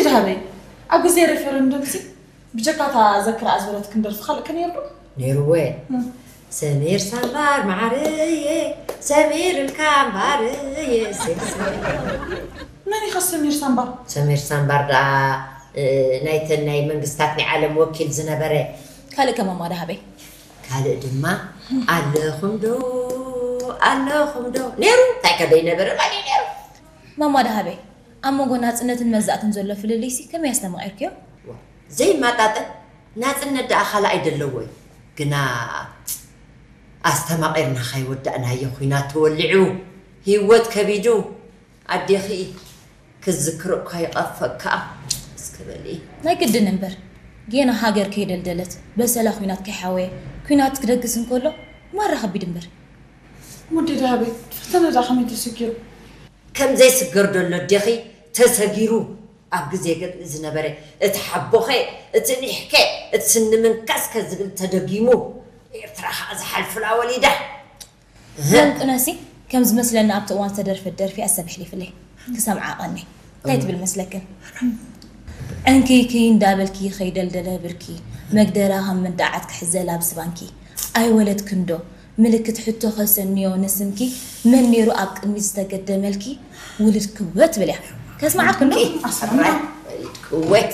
ደሃበይ፣ ኣብ ግዜ ሬፈረንደምሲ ብጀካ እታ ዘክርኣ ዝበለት ክንደርፊ ካልእ ከ ነይሩ ዶ? ነይርወ። ሰሚር ሳምባር ማዓረየ፣ ሰሚር እልካ እምባረየ። መን ኢኻ ሰሚር ሳምባር? ሰሚር ሳምባር ደኣ ናይተን ናይ መንግስታት ናይ ዓለም ወኪል ዝነበረ። ካልእ ከማማ ደሃበይ? ካልእ ድማ ኣለኹም ዶ ኣለኹም ዶ ነይሩ። እንታይ ከ ደይነበረ ማለት ነይሩ? ማማ ደሃበይ፣ ኣብ መንጎ ናጽነትን መግዛእትን ዘሎ ፍልልይሲ ከመይ ኣስተማቒርክዮ? ዘይማጣጠን ናጽነት ደኣ ካልኣይ ደለዎ እዩ። ግና ኣስተማቒርና ካይወዳእናዮ ኲናት ተወሊዑ፣ ህይወት ከቢዱ፣ ኣዴኺ ክዝክሮ እኳ ይቐፈካ። እስከ በሊ። ናይ ግድን እምበር፣ ጌና ሃገር ከይደልደለት፣ በሰላ ኲናት ከይሓወየ፣ ኲናት ክደግስ እንከሎ፣ ማራ ከቢድ እምበር። ሙዲ ደሃበይ፣ ፈተነ ደኣ ከመይ ተሰጊሩ? ከም ዘይስገር ደሎ ኣዴኺ ተሰጊሩ። ኣብ ግዜ ገድሊ ዝነበረ እቲ ሓቦኸ፣ እቲ ኒሕከ፣ እቲ ስኒ ምንካስከ ዝብል ተደጊሙ። ኤርትራ ኸኣ ዝሓልፍላ ወሊዳ። እህ። ሎምቅነሲ ከም ዝመስለኒ ኣብቲ እዋን ዝተደርፈት ደርፊ ኣሰብ ኣሕሊፍለይ ክሰምዓ ቀኒ። እንታይ ትብል መስለክን? ዕንክይክይ እንዳበልኪ ከይደልደለ ብርኪ፣ መግደራ ከም ምንዳዓት ክሕዘል ኣብ ዝባንኪ። ኣይወለድክን ዶ? ምልክት ሕቶ ከሰንዮ ንስምኪ፣ መን ነይሩ ኣብ ቅድሚት ዝተገደመልኪ? ውሉድ ክወት ብል እያ። ከስምዓክን ዶ? ኣሰራይ፣ ወሊድ ክወት።